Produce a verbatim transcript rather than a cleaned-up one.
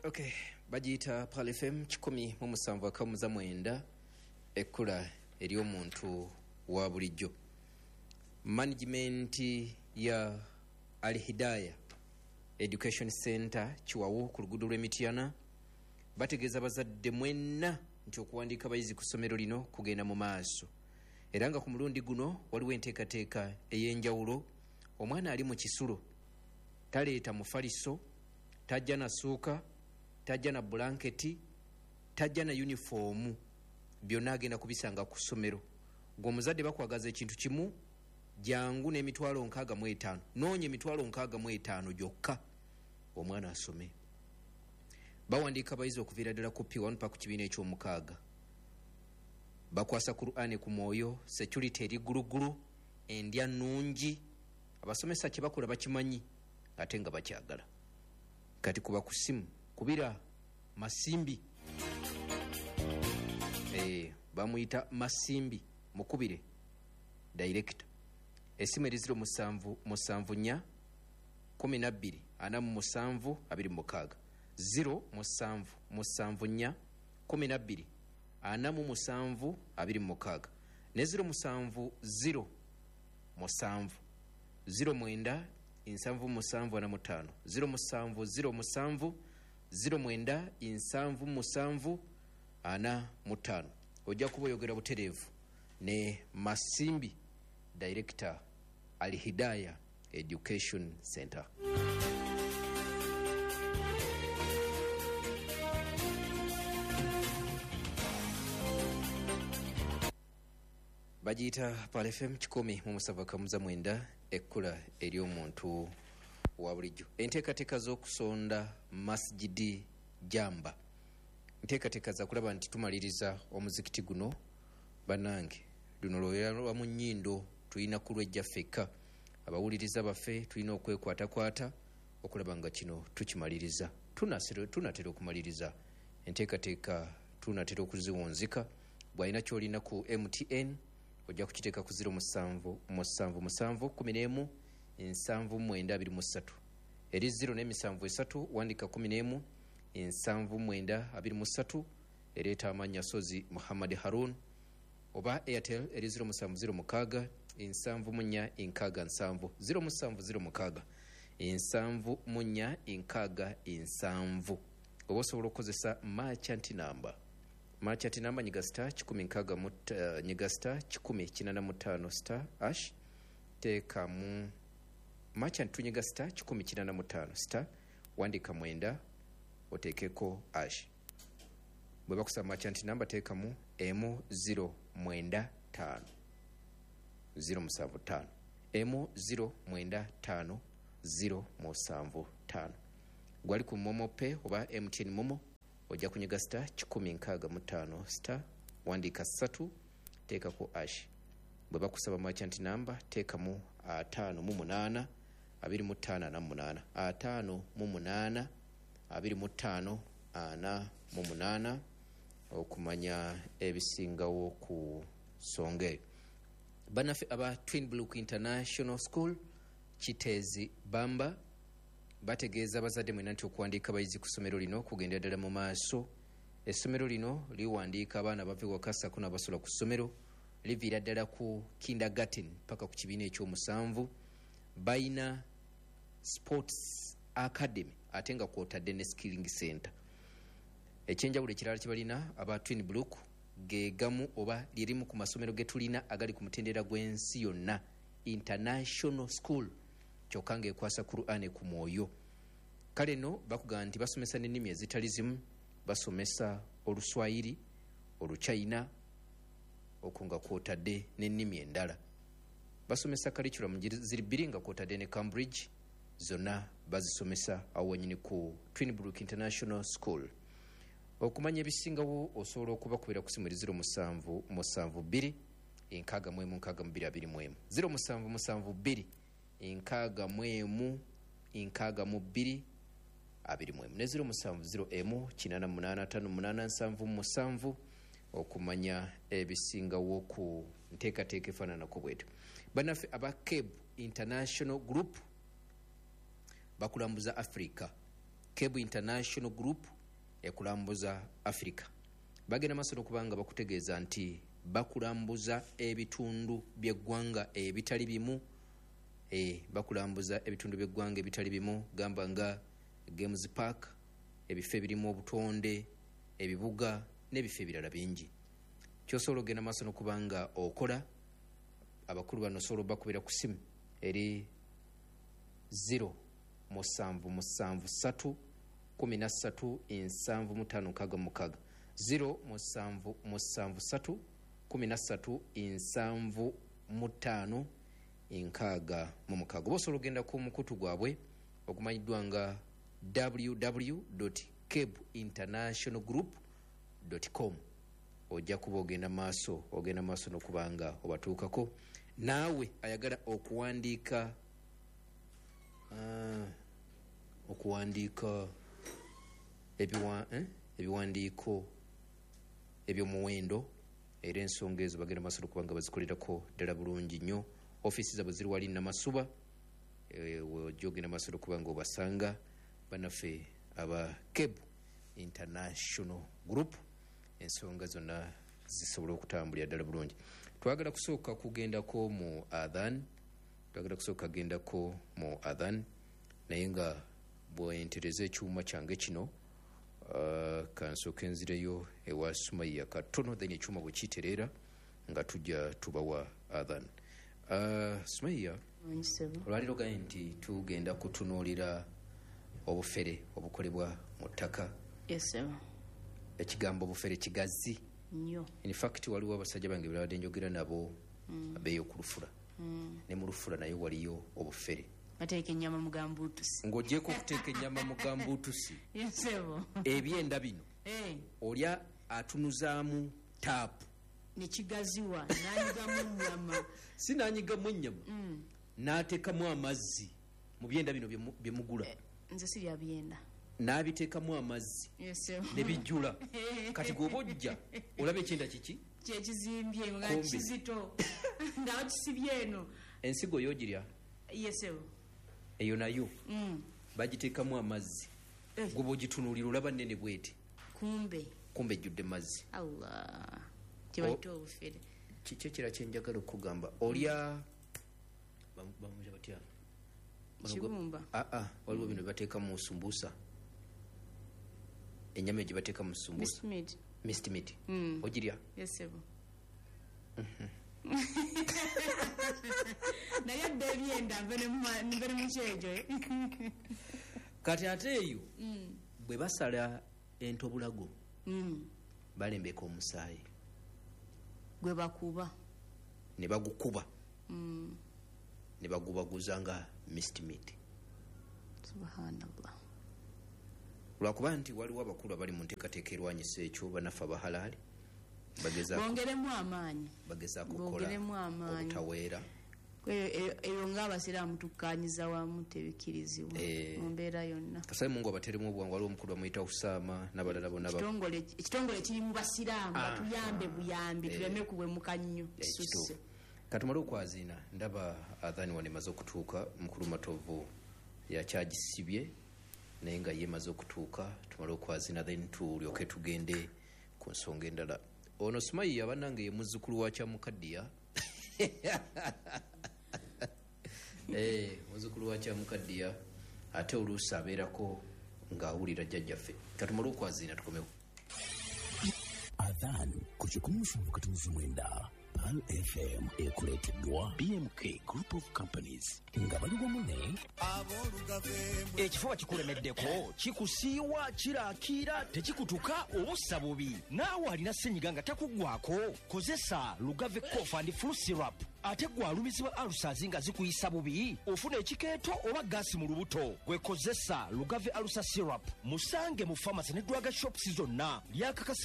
Okay, bagiyita Pearl F M kikumi mu musanvu akamuza mwenda, ekkula ery'omuntu wa bulijjo. Management ya Al Hidaya Education Center Kiwawu ku luguudo lw'Emityana bategeeza abazadde mwenna nti okuwandiika abayizi ku ssomero lino kugenda mu maaso, era nga ku mulundi guno waliwo enteekateeka ey'enjawulo. Omwana ali mu kisulo taleeta mufaliso, tajja na ssuuka, tajja na bulanketi, tajja na yunifoomu, byonna agenda kubisanga ku ssomero. Gwe omuzadde bakwagaza ekintu kimu, jangu n'emitwalo nkaaga mu etaano, noonya emitwalo nkaaga mu etaano gyokka omwana asome. Bawandiika abayizi okuviira ddala ku P one paka ku kibiina eky'omukaaga. Bakwasa Kur'ani ku mwoyo, security eri ggulugulu, endya nnungi, abasomesa kye bakola bakimanyi ate nga bakyagala. Kati kuba ku ssimu kubira Masimbi, eh, bamuyita Masimbi, mukubire director. Essimu eri ziro musanvu musanvu nnya kumi na bbiri ana mu musanvu abiri mu mukaaga, ziro musanvu musanvu nnya kumi na bbiri ana mu musanvu abiri mu mukaaga, ne ziro musanvu ziro musanvu ziro mwenda nsanvu musanvu ana mu ttaano, ziro musanvu ziro musanvu ziro mwenda nsanvu musanvu ana mu ttaano. Ojja kuba oyogera butereevu ne Masimbi, director Al Hidaya Education Center. Bagiyita Pearl F M kikumi mu musanvu akamuza mwenda, ekkula ery'omuntu wa bulijjo. Enteekateeka z'okusonda Masjidi Jamba, nteekateeka za kulaba nti tumaliriza omuzikiti guno. Bannange, luno lwoya lwa mu nnyindo, tulina kulwejja ffekka. Abawuliriza baffe tulina okwekwatakwata okulaba nga kino tukimaliriza. Tunatera okumaliriza enteekateeka, tunatera okuziwunzika. Bw'alina ky'olina ku M T N ojja kukiteeka ku ziro musanvu musanvu musanvu kumi n'emu nsanvu mwenda abiri mu ssatu, eri ziro n'emisanvu esatu wandika kumi n'emu nsanvu mwenda abiri mu ssatu, ereeta amannya Sozi Muhammad Harun. Oba Airtel eri ziro musanvu ziro mukaaga nsanvu mu nnya nkaaga nsanvu, ziro musanvu ziro mukaaga nsanvu mu nnya nkaaga nsanvu. Oba osobola okukozesa merchant number, merchant number nyiga star kikumi nkaaga mu uh, nyiga star kikumi kinaana mu ttaano star ash, teekamu merchant tunyiga star kikumi kinaana mu ttaano star wandika mwenda oteekeko ash. Bwe bakusaba merchant number teekamu emu ziro mwenda ttaano ziro musanvu ttaano, emu ziro mwenda ttaano ziro musanvu ttaano. Gwali ku Momo Pay oba M T N Momo ojja kunyiga star kikumi nkaaga mu ttaano star wandika ssatu teekako ash. Bwe bakusaba merchant number teekamu ataano mu munaana abiri mu ttaano ana mu munaana, ataano mu munaana abiri mu ttaano ana mu munaana okumanya ebisingawo ku nsonga eyo. Bannaffe aba Twin Brook International School Kiteezi Bamba bategeeza abazadde mwenna nti okuwandiika abayizi ku ssomero lino kugenda ddala mu maaso. Essomero lino liwandiika abaana bava ewaka ssaako n'abasula ku ssomero, liviira ddala ku kindergarten paka ku kibiina ekyomusanvu. Bayina sports academy ate nga kwotadde ne skilling center. Ekyenjawulo ekirala kye balina aba Twin Brook ge gamu oba lirimu ku masomero ge tulina agali ku mutendera gw'ensi yonna, international school, kyokka ng'ekwasa Kur'ani ku mwoyo. Kale nno bakugamba nti basomesa n'ennimi ezitali zimu, basomesa Oluswayiri, Oluchina, okwo nga kwotadde n'ennimi endala. Basomesa curriculum ziri bbiri nga kwotadde ne Cambridge, zonna bazisomesa awo wennyini ku Twin Brook International School. Okumanya ebisingawo osobola okubakubira ku ssimu eri ziro musanvu musanvu bbiri nkaaga mu emu nkaaga mu bbiri abiri mu emu, ziro musanvu musanvu bbiri nkaaga mu emu nkaaga mu bbiri abiri mu emu, ne ziro musanvu ziro emu kinaana munaana ttaano munaana nsanvu musanvu okumanya ebisingawo ku nteekateeka efaananako bwetyo. Bannaffe aba Cape International Group bakulambuza Africa. Cape International Group ekulambuza Africa. Bagenda maaso n'okubanga bakutegeeza nti bakulambuza ebitundu by'eggwanga ebitali bimu, e, bakulambuza ebitundu by'eggwanga ebitali bimu, gamba nga Games Park, ebifo ebirimu obutonde, ebibuga n'ebifo ebirala bingi. Kyosobola ogenda maaso n'okubanga okola, abakulu bano osobola obakubira ku ssimu eri zero musanvu musanvu ssatu kumi na ssatu nsanvu mu ttaano nkaaga mu mukaaga, zero musanvu musanvu ssatu kumi na ssatu nsanvu mu ttaano nkaaga mu mukaaga. Oba osobola ogenda ku mukutu gwabwe ogumanyiddwa nga w w w dot keb international group dot com, ojja kuba ogenda maaso ogenda maaso n'okubanga obatuukako. Naawe ayagala okuwandiika uh, okuwandiika ebiwa, eh? ebiwandiiko eby'omuwendo, era ensonga ezo bagenda maaso n'okubanga bazikolerako ddala bulungi nnyo. Ofiisi zaabwe ziri wali Namasuba, e, ojja ogenda maaso n'okubanga obasanga bannaffe aba Keb International Group, ensonga zonna zisobola okutambulira ddala bulungi. Twagala kusooka kugendako mu adhan, twagala kusooka kugendako mu adhan, naye nga bwentereza ekyuma kyange kino, uh, kansooke nzireyo ewa Sumaiya katono, then ekyuma bwe kitereera nga tujja tubawa adhan. Uh, Sumaiya, olwaleero gambye nti tugenda kutunuulira obufere obukolebwa mu ttaka. Yes, sir. Ekigambo obufere kigazi nnyo. In fact waliwo abasajja bange babadde njogera nabo mm. abeeyo ku lufula mm. ne mu lufula nayo waliyo obufere. Bateeka ennyama mu gambuutusi. Ng'ogyeko okuteeka ennyama mu gambuutusi. Yes, sir. Ebyenda bino hey. Olya atunuzaamu taapu ne kigaziwa n'anyigamu ennyama. Si n'anyigamu ennyama, mm. n'ateekamu amazzi mu byenda bino bye mugula. Eh, nze sirya byenda. N'abiteekamu amazzi yes, ne bijjula. Kati gwoba ojja olaba ekyenda kiki kyekizimbye nga kizito nga bakisibye eno. Ensigo y'ogirya? Yes, eyo nayo mm. bagiteekamu amazzi eh. Gwoba ogitunuulira olaba nnene bweti, kumbe kumbe ejjudde mazzi. Allah, kyebayita obufere. Kiki ekirala kye njagala okugamba? Olya bamuyita batya? Kibumba. Ah ah, waliwo bino bateeka mu sumbusa, ennyama gye bateeka mu sumbusa, mist meat. Mm. Ogirya? Yes, sir. Naye adda ebyenda nve ne mu kyejo. Kati ate eyo mm. bwe basala entobulago mm. balembeka omusaayi gwe bakuba ne bagukuba mm. ne bagubaguza nga mist meat. Subhanallah. Lwakuba nti waliwo abakulu abali mu nteekateeka erwanyisa ekyo, bannaffe abahalaali bongeremu amaanyi, bagezaako okukola obutaweera. Eyo ng'abasiraamu tukkaanyiza wamu tebikkirizibwa mu mbeera yonna. Kasabe Mungu abateremu obwangu. Waliwo omukulu bamuyita Husaama n'abalala bonna. Ekitongole kiri mu basiraamu, batuyambe buyambi tuleme kuwemuka nnyo. Kituufu. Katumale okwaziina, ndaba adhani wano emaze okutuuka. Mukulu Matovu yakyagisibye naye nga ye emaze okutuuka. Tumale okwazina then tulyoke tugende ku nsonga endala. Ono Sumaiya bannange ye muzzukulu wa Kyamukaddiya. Eh, muzzukulu wa Kyamukaddiya ate oluusi abeerako ng'awulira jjajjaffe. Katumale okwazina tukomewo. Adhan ku kikumi musanvu katunzi mwenda Pearl F M ekuleeteddwa B M K Group of Companies nga bali wamu ne Ekifuba kikulemeddeko, kikusiiwa, kirakiira, tekikutuka, obussa bubi. Naawe alina ssenyiga nga takuggwako, kozesa Lugave Cough and Flu Syrup. Ate gwe alumizibwa ulcers nga zikuyisa bubi, ofuna ekikeeto oba gaasi mu lubuto, gwe kozesa Lugave Ulcer Syrup. Musange mu pharmacy ne drug shops zonna. Lyakakasibwa